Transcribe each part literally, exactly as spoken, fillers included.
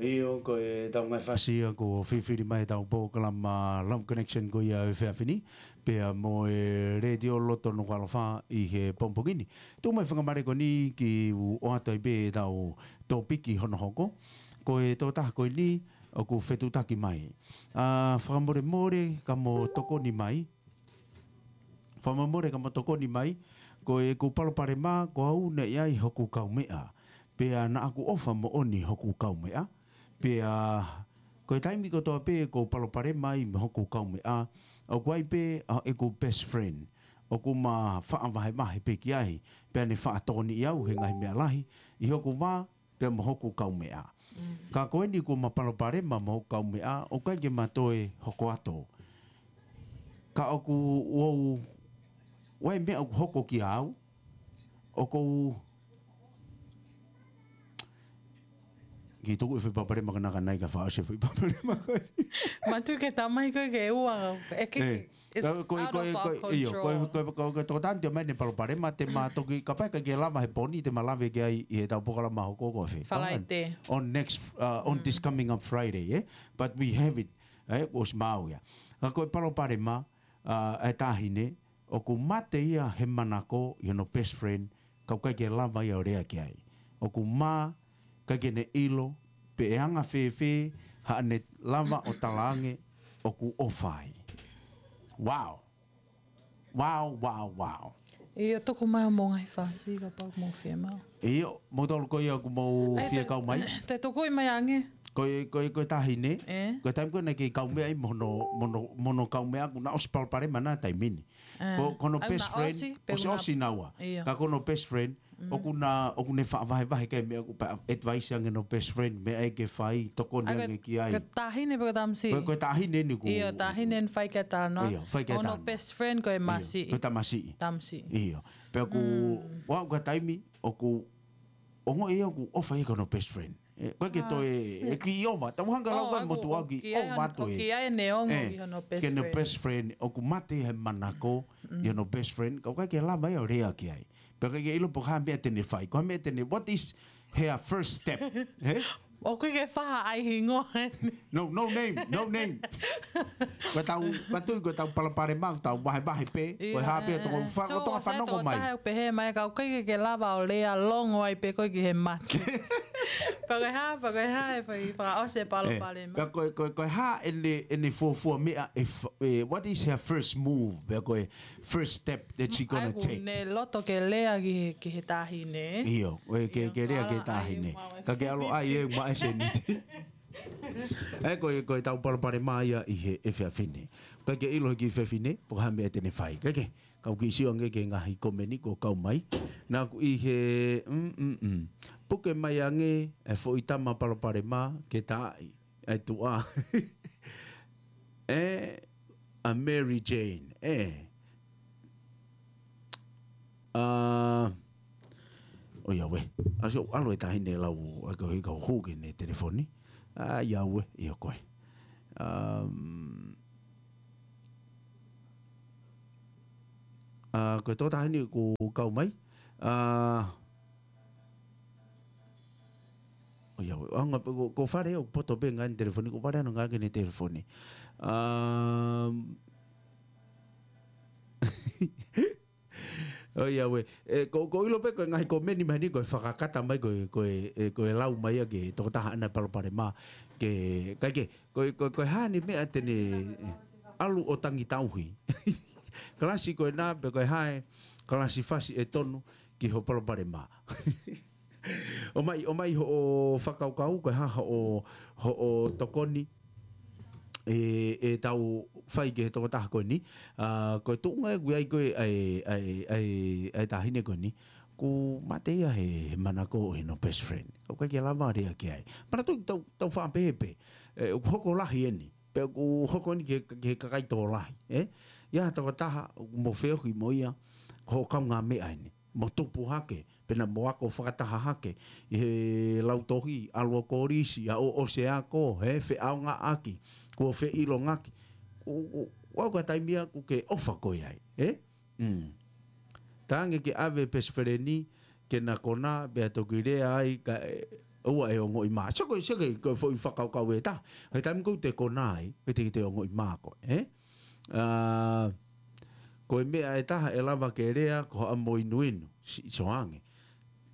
ʻIo, ko e tau ngaahi fasi ia kuo fifili mai ʻetau polokalama Love Connection ko ia ʻo e efiafi ni, pea mo e Letiō Loto Nukuʻalofa ʻi he pongipongi ni. Tuku mai fakamālō ko eni ke u ʻoatu ai pē ʻetau tōpiki hono hoko. Ko e tokotaha ko eni ʻoku fetuʻutaki mai. ʻA, fakamolemole ka mo tokoni mai. Fakamolemole ka mo tokoni mai, ko ʻeku palopalema ko au naʻe ʻi ai hoku kaumeʻa. Pea naʻa ku ʻofa moʻoni hoku kaumeʻa. Pea ko e taimi kotoa pē ʻoku ou palopalema ai mo hoku kaumeʻa, ʻoku ʻi ai pē ʻa ʻeku best friend ʻoku ma faʻa vahevahe pē ki ai. Pea ne faʻa tokoniʻi au he ngaahi meʻa lahi ʻi hoku vā pea mo hoku kaumeʻa. Ka ko eni kuo ma palopalema mo hoku kaumeʻa, ʻoku ʻikai ke ma toe hoko atu. Ka ʻoku ou, ʻoku ʻi ai meʻa ʻoku hoko kiate au, ʻoku ou, ke tuku e foʻi palopalema ka nakanai ka faʻa ʻosi e foʻi palopalema. Matu ke tamai koe ke ua, e ke, it's out of our control. Ko e, ko e, ko e, ʻio, ko e, ko e, ko e, ko e tokotani te mai ne palopalema te ma toki, kapau ʻe ʻikai ke lava he pō ni te ma lave ki ai ʻi heʻetau polokalama hoko ko e fē. Falaite. On next, uh, on this coming up Friday, eh? But we have it, eh? ʻOsi maau ia. Ka ko e palopalema, uh, e taʻahine, ʻoku mate ia he manako ʻi hono best friend, ka ʻoku ʻikai ke lava ia ʻo lea ki ai. ʻOku mā, ʻikai ke ne ʻilo, pe ʻe anga fēfē haʻane lava ʻo talaange ʻoku ʻofa ai. Wow. Wow, wow, wow. ʻIo, tuku mai hoʻomou ngaahi fasi kapau ʻoku mou fiemaʻu. ʻIo, mou tolu ko ia ʻoku mou fie kau mai. Te tuku mai ange. Ko e, ko e, ko e taʻahine. Ko e taimi ko ē naʻe kei kaumeʻa ai mo hono, mo hono, mo hono kaumeʻa ʻoku na ʻosi palopalema naua taimi ni. Ko, ko hono best friend, ʻosi, ʻosi naua. Ka ko hono best friend, ʻoku na, ʻoku ne faʻa vahevahe ki ai meʻa ʻoku pea advice ange hono best friend, meʻa ʻe ke fai, tokoni ange ki ai. Ko e taʻahine pe ko e tamasiʻi? Ko e, ko e taʻahine eni ʻoku. ʻIo, taʻahine eni fai ki ai talanoa. ʻIo, fai ki ai talanoa. Ko hono best friend ko e masiʻi. Ko e tamasiʻi. Tamasiʻi. ʻIo. Pea ʻoku, ʻoku ʻi ai e taimi, ʻoku, ʻoku ongoʻi ia ʻoku ʻofa ia ki hono best friend. ʻE, ʻoku ʻikai ke toe, ʻe kiʻi ʻova. Tau hanga lau ka motuʻa kiʻi ʻova atu ē. ʻOku ʻi ai ʻene ongo ʻi hono best friend. Ke ne best friend, ʻoku mate he manako ʻi hono best friend, ka ʻoku ʻikai ke lava ia ʻo lea ki ai. Pea ʻikai ke ʻilo pe ko e hā e meʻa te ne fai. Ko e hā e meʻa te ne, what is her first step? He? ʻOku ʻikai ke faʻa ʻai hingoa eni. No, no name, no name. Ko ʻetau, ko e tui, ko ʻetau palopalema, ko ʻetau vahevahe pē, ko e hā pē ʻoku tau fa-, ko ʻetau fanongo mai. Pehē mai ka ʻoku ʻikai ke lava ʻo lea longo ai pē ko ē ki he mate. Pea ko e hā, pea ko e hā e fai fakaʻosi e palopalema. Pea ko e, ko e, ko e hā ʻene, ʻene fuofua meʻa, e fa-, e, what is her first move? Pea ko e first step that she gonna take. ʻOku ne loto ke lea ki he, ki he taʻahine. ʻIo, ʻoku ʻikai ke lea ki he taʻahine. Ka ke ʻalu ʻai e maʻa e sēniti. ʻE, ko e, ko ʻetau palopalema ia ʻi he efiafi ni. ʻIkai ke ʻilo he kiʻi fefine, pe ko e hā e meʻa te ne fai. ʻIkai ke, kau kiʻi sio ange ki he ngaahi komeni kuo kau mai. Naʻa ku ʻi he, mm, mm, mm. Puke mai ange e foʻi tama palopalema ke taaʻi e tuʻa. ʻE, ʻa Mary Jane, ʻe. ʻA, ʻoiauē. ʻAsi ʻoku ʻalu e taʻahine lau, ʻa ko e kau hū ki heʻene telefoni. ʻA, ʻoiauē, ʻio ko ē. Um, ʻa, ko e tō taʻahine kuo kau mai. ʻA, ʻoiauē, ʻa, ngā, ko, ko Fale ʻoku poto pē ngaahi telefoni, ko Fale ʻoku ngāueʻaki ʻene telefoni. Um, ʻoiauē, ʻe, ko, ʻoku ʻilo pē ko e ngaahi komeni mai ni, ko e fakakata mai, ko e, ko e, ʻe, ko e lau mai ia ki he tokotaha ʻana palopalema, ke, ʻikai ke, ko e, ko e, ko e hā ʻene meʻa te ne, ʻe, ʻalu ʻo tangi tauhi. Kalasi ko ena, pe ko e hā e, kalasi fasi ʻe tonu, ki hoʻo palopalema. ʻOmai, ʻomai hoʻo fakakaukau, ko e hā hoʻo, hoʻo tokoni, ʻe, ʻe tau fai ki he tokotaha ko eni. ʻA, ko e tuʻunga ʻoku ʻi ai ko ē ʻa e, ʻa e, ʻa e, ʻa e taʻahine ko eni. ʻOku mate ia he, he manako ʻi hono best friend. Ka ʻoku ʻikai ke lava lea ki ai. Manatuʻi ʻoku tau, tau faʻa pehē pē. ʻE, ʻoku hoko lahi eni. Pea ʻoku hoko eni ki he, ki he kakai tokolahi, ē? ʻI ai ha tokotaha, ʻoku mo feohi mo ia, ko hoʻo kaungāmeʻa eni. Mo tupu hake, pe naʻa mo ako fakataha hake, ʻi he lautohi, ʻalu ʻo kolisi, aʻu ʻo ʻosi e ako, ē, feʻaongaʻaki, kuo feʻilongaki. ʻO, ʻo, ʻo aʻu ki he taimi ia ʻoku ke ʻofa koe ai, ē? Mm. Talaange ke ʻave e best friend ni ke na konā, pea toki lea ai, kae ʻoua ʻe ongoʻi mā. Sio ko e, sio ko e, ko e foʻi fakakaukau ʻe taha. He taimi ʻoku te konā ai, ʻe te, te ongoʻi mā koe, ē? Ā, ko e meʻa ʻe taha ʻe lava ke lea, ko haʻamo inuinu, si-, sio ange.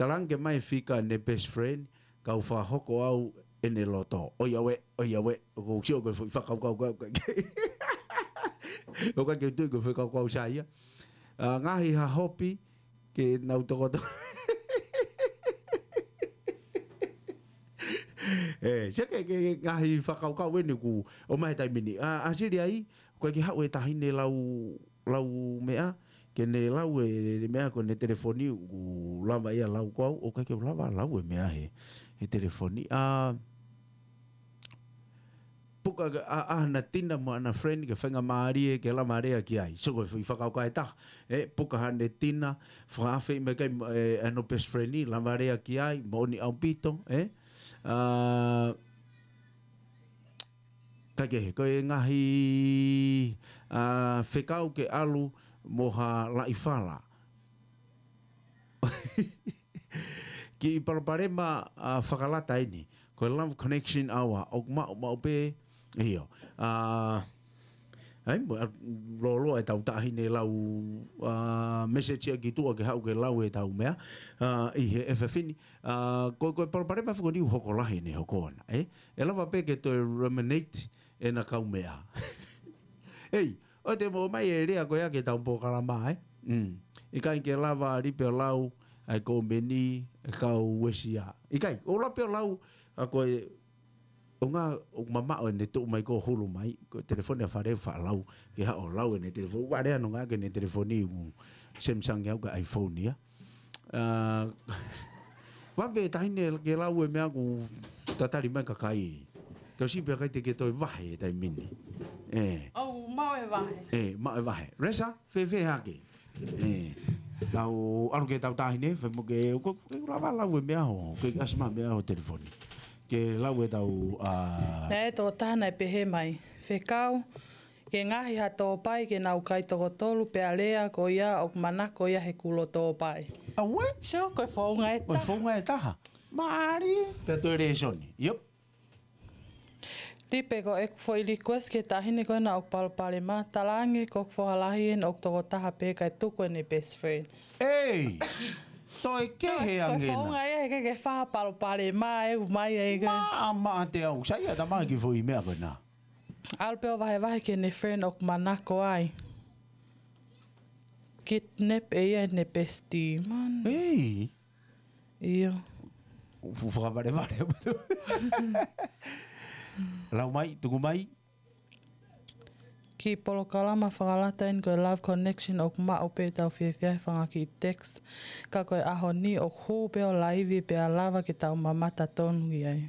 Talaange mai fika ʻene best friend, kau fakahoko au ʻene loto. ʻOiauē, ʻoiauē, ʻoku ou sio ko e foʻi fakakaukau, ka, ka, ʻoku ʻikai ke u tui ko e foʻi fakakaukau sai ia. Ā, ngaahi hahopi, ke nau tokoto. Ē, sio ki he, ki he ngaahi fakakaukau ʻeni ʻoku ʻomai he taimi ni. Ā, ʻa Sili ai, ko e ke haʻu e taʻahine lau, lau meʻa, ke ne lau e, e meʻa ko ʻene telefoni, ʻoku lava ia lau ko au, ʻoku ʻikai ke lava lau e meʻa he, he telefoni. Ā, puka ke ʻa, ʻa hana tina mo hana friend ke faingamālie ke lava lea ki ai. Sio ko e foʻi fakakaukau ʻe taha. Ē, puka haʻane tina, fakaafe mai kai, ē, ʻa hono best friend ni, lava lea ki ai, moʻoni ʻaupito, ē? Ā, kae kehe, ko e ngaahi, ā, fekau ke ʻalu mo ha laʻi fala. Kiʻi palopalema, ā, fakalata ʻeni. Ko e Love Connection Hour, ʻoku maʻu, maʻu pē, ʻio. Ā, ai, mo, ā, lōloa e tau taʻahine lau, ā, message ia ki tuʻa ke haʻu ke lau e tau meʻa, ā, ʻi he efiafi ni. Ā, ko, ko e palopalema fekoni ʻoku hoko lahi ʻene hoko ʻana, ē? ʻE lava pē ke toe ruminate ʻena kau meʻa. Ei, ʻoua te mo ʻomai e lea ko ia ki he tau polokalama, ē? Mm. ʻIkai ke lava Lipe ʻo lau ʻa e kōmeni ʻa e kau uesia. ʻIkai, ʻoua Lipe ʻo lau, ʻa ko e, ʻo ngā, ʻoku mamaʻo ʻene tuʻu mai ko e hulu mai, ko e telefoni ʻa Fale faʻa lau, ke haʻu ʻo lau ʻene telefoni, ʻoua lea ʻo ngāueʻaki ʻene telefoni ʻoku Samsung ia ʻoku ʻikai iPhone ia. Ā, vave e taʻahine ke lau e meʻa ʻoku tatali mai kakai. Tau sio pē ʻikai te ke toe vahe he taimi ni. Ē. ʻOu, maʻu e vahe. Ē, maʻu e vahe. Resa, fēfē hake? Ē. Tau, ʻalu ki he tau taʻahine, fai mo ke, ko, ke lava lau e meʻa ho, ke ʻasi mai meʻa ho telefoni. Ke lau e tau, ā, Naʻe tō taha naʻe pehē mai. Fekau, ke ngaohi ha tōpai ke nau kai toko tolu pea lea ko ia ʻoku manako ia he kulo tōpai. Auē? Sio, ko e founga ʻe taha. Ko e founga ʻe taha. Mālie. Pea toe lēsoni. Yep. Lipe, ko ʻeku foʻi request ki he taʻahine ko ena ʻoku palopalema, talaange ko e foha lahi ʻena ʻoku toko taha pē kae tuku ʻene best friend. Ei! Toe kehe ange ena. Ko e founga ia he ke, ke fai ha palopalema ʻe ʻomai ai ke. Maʻa, maʻa te au. Sai ʻa e tama ki he foʻi meʻa ko ena. ʻAlu pē ʻo vahevahe ki heʻene friend ʻoku manako ai. Kidnap ʻe ia ʻene bestie, man. Ei. ʻIo. Fu-, fakavalevale. Lau mai, tuku mai. Kiʻi polokalama fakalata ʻeni ko e Love Connection ʻoku maʻu pē tau fiefia he fanga kiʻi text. Ka ko e ʻaho ni ʻoku hū pē ʻo laivi pea lava ke tau mamata tonu ki ai.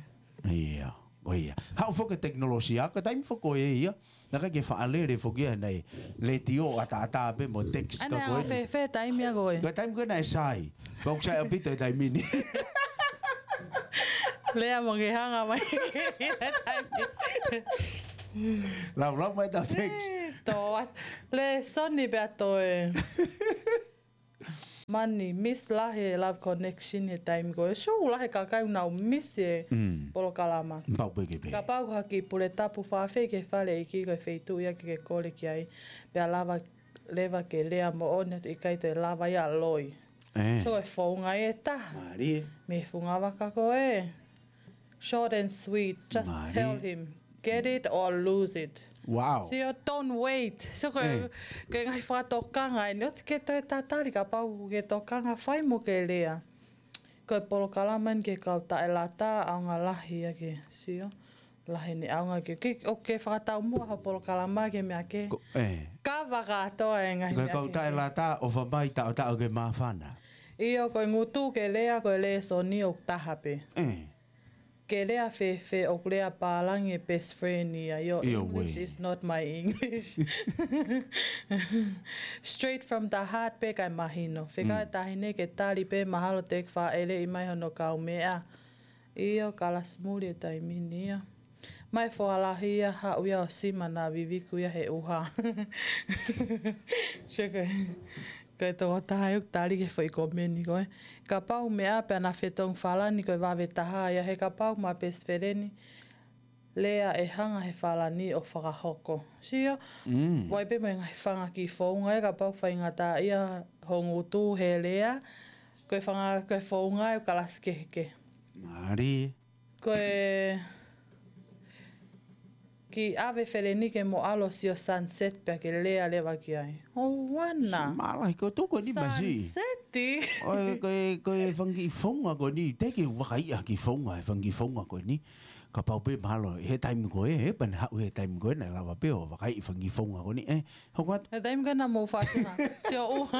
ʻIo, ʻo ia. Haʻu foki e tekinolosia, ko e taimi foki ko ē ia. Naʻe ʻikai ke faʻa lele foki ia naʻe letiō ʻataʻatā pē mo text ka ko ē. Ane a fēfē taimi ʻa ko ē. Ko e taimi ko ē naʻe sai. Ko e sai ʻaupito e taimi ni. Lea mo ke hanga mai ki he taimi. Lau, lau mai tau text. Ē, tō at-, lēsoni pea toe. Mani, miss lahi e Love Connection he taimi ko ē. Sio lahi e kakai ʻoku nau miss e polokalama. Pau pē ke pē. Kapau ko ha kiʻi pule tapu fafei ki he fale ʻeiki ko e feituʻu ia ke ke kole ki ai. Pea lava, leva ke lea moʻoni atu ʻikai toe lava ia loi. Ē. Sio e founga ʻe taha. Mālie. Mei he funga vaka ko ē. Short and sweet. Just tell him. Get it or lose it. Wow. Sio, don't wait. Sio ko e, ko e ngaahi fakatokanga ʻeni. ʻOua te ke toe tatali kapau ke tokanga fai mo ke lea. Ko e polokalama ʻeni ki he kau taʻelata, ʻaonga lahi ia ke. Sio. Lahi ʻene ʻaonga ke. Ke, ʻoku ke fakataumuʻa ho polokalama ke meʻa ke. Ko, ē. Ka fakatoa e ngaahi meʻa ke. Ko e kau taʻelata, ʻofa mai taʻotaʻo ke māfana. ʻIo, ko e ngutu ke lea, ko e lēsoni ʻoku taha pē. Ē. Ke lea fēfē ʻoku lea pālangi e best friend ia, your English is not my English. Straight from the heart pē kae mahino. Fekau e taʻahine ke tali pē mahalo te ke fāʻeleʻi mai hono kaumeʻa. ʻIo, kalasi muli e taimi ni ia. Mai foha lahi ia, haʻu ia ʻo sima naʻa viviku ia he ʻuha. Sio ko e. Ko e tokotaha ʻoku tali ki he foʻi komeni ko ē. Kapau meʻa pē ʻa e fetongi falani ko e vave taha ia he kapau ma best friend lea ʻe hanga he falani ʻo fakahoko. Sio, Mm. ʻoku ʻi ai pē mo e ngaahi fanga kiʻi founga ē kapau faingataʻaʻia ho ngutu he lea, ko e fanga ko e founga ʻoku kalasi kehekehe. Mālie. Ko e kiʻi ʻave feleni ke mo ʻalu ʻo sio sunset pea ke lea leva ki ai. ʻOua naʻa. Mālahi ko e tuʻu ko eni masi. Sunset. ʻOi, ko e, ko e fanga kiʻi founga ko eni. Teʻeki ke u vakaiʻi ha kiʻi founga, e fanga kiʻi founga ko eni. Kapau pē mahalo, he taimi ko ē, he pea ne haʻu he taimi ko ē, naʻe lava pē ʻo vakaiʻi fanga kiʻi founga ko eni. ʻE, hoko atu. He taimi ko ē naʻa mou fasi ha. Sio ʻuha.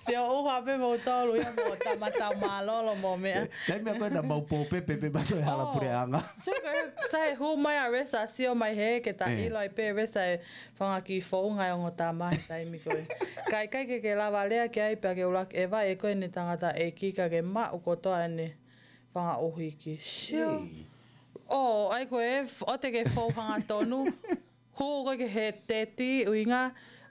Sio ʻuha pē mou tolu ia mo tama tau mālōlō mo meʻa. Taimi ko ē naʻa mau pōpepe pē mato e hala Oh. puleʻanga. Sio ko ē, sai hū mai ʻa Resa, sio mai he ke ta ʻE. ʻilo ai pē Resa e fanga kiʻi founga e ongo tama he taimi ko ē. Ka ʻikai ke ke lava lea ki ai pea ke ʻuluaki ʻeva ʻe koe ʻene tangataʻeiki ka ke maʻu kotoa ʻene fanga ʻuhiki. Sio. Ei. ʻO, ʻai ko ē, f-, ʻoua te ke fou hangatonu. Hū koe ki he teti, ʻuhinga,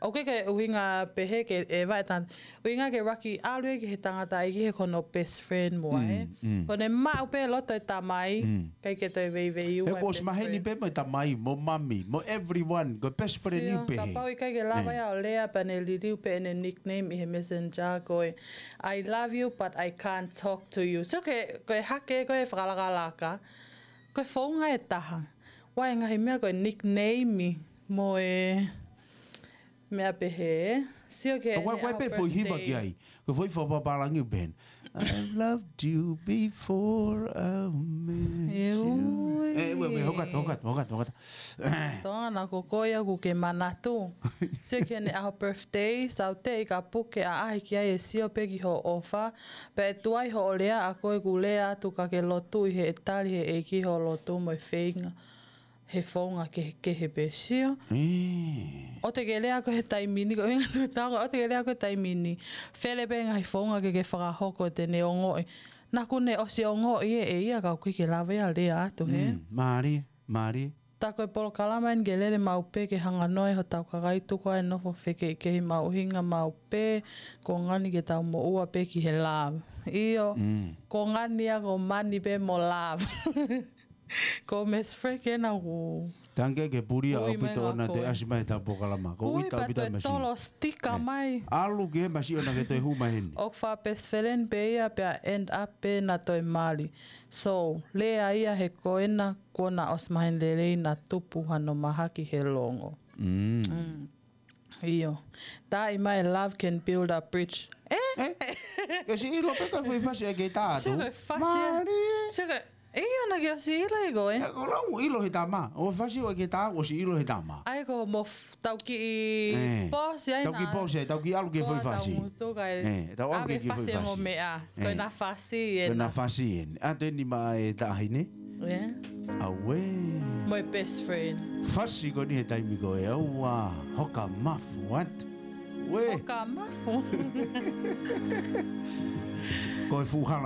ʻoku ʻikai ke ʻuhinga pehē ke ʻeva e tangata. ʻUhinga ke ʻuluaki ʻalu ia ki he tangataʻeiki he ko hono best friend mo ē. Mm, mm. Ko ʻene maʻu pē loto e tamai, Mm. ʻikai ke toe veiveiua He e ko best ʻosi maheni friend. pē mo e tamai, mo mami, mo everyone, ko e best friend Sio, ʻiu pehē. kapau ʻikai ke lava ʻE. ia ʻo lea pea ne liliu pē ʻene nickname ʻi he messenger ko e, "I love you, but I can't talk to you." So ke, ko e hake, ko e fakalakalaka, ko e founga ʻe taha. ʻOku ʻi ai e ngaahi meʻa ko e nickname mo e meʻa pehē. Sio ki he ʻOku ʻi ai, ʻene ʻoku ʻi ai ʻaho pē foʻi hiva birthday. ki ai. Ko e foʻi fakapapālangi ʻoku pehē ni. "I've loved you before I met E you." ui. ʻE, ue, ue, hoko atu, hoko atu, hoko atu, hoko atu. Tōna ko koe ia ʻoku ke manatu. Sio ki heʻene ʻaho birthday, saute i ka puke ʻaʻahi ki ai e sio pē ki hoʻo ʻofa. Pea ʻe tuai hoʻo lea ʻa koe ʻoku lea atu ka ke lotu ʻi he ʻe tali he ʻEiki hoʻo lotu mo e feinga he founga kehekehe pē sio. ʻE. ʻOua te ke lea ko ē he taimi ni, ko e ʻuhinga tu tau, ʻoua te ke lea ko ē he taimi ni. Fele pē ngaahi founga ke ke fakahoko te ne ongoʻi. Naʻa ku ne ʻosi ongoʻi ʻe, ʻe ia ka ʻoku ʻikai ke lava ia lea atu he. Mm, mālie, mālie. Tā ko e polokalama eni ke lele maʻu pē ke hanga noa ʻi hotau kakai tuku ʻa e nofo fekeʻikehi maʻu ʻuhinga maʻu pē, ko ngani ke tau moʻua pē ki he love. ʻIo, Mm. ko ngani ia ko mani pē mo love. Ko Miss Frank ena ʻoku Tangi ke puli ʻa Ui, mai ʻaupito ngā ona te koe. ʻasi mai he tau polokalama. Ko Ui, ui tau pita pea toe masi. tolo stika ʻE. mai. ʻAlu ki he masi ʻona ke toe hū mai heni. ʻOku fa best friend pē ia pea end up pē na toe mali. So, lea ia he ko ena kuo na ʻosi maheni lelei na tupu hano mahaki he longo. Mm. Mm. ʻIo. Taʻi mai love can build a bridge. ʻE? ʻE? Ke ʻosi ʻilo pē ko e foʻi fasi ʻe ke tā atu. Sio ko e fasi ʻe. Mālie. Sio ko e, ʻio naʻa ke ʻosi ʻilo ʻe koe. ʻE, ko lau ʻilo he tama. ʻO fasi ʻo ke tā, ʻosi ʻilo he tama. ʻAi ko mo f-, tau kiʻi ʻE. pause ai Tau kiʻi na. pause ai, tau kiʻi ʻalu ki he Ko foʻi tau fasi. mutu kai. ʻE, tau ʻalu Ave ki he foʻi fasi e mo fasi. meʻa. Ko ʻE. na fasi Ko ena ena. fasi eni. ʻA te ni ma e taʻahine. ʻE. Auē. Mo e best friend. Fasi ko eni he taimi ko ē ʻoua hoka mafu atu. Uē. Hoka mafu. Ko e fuʻu hala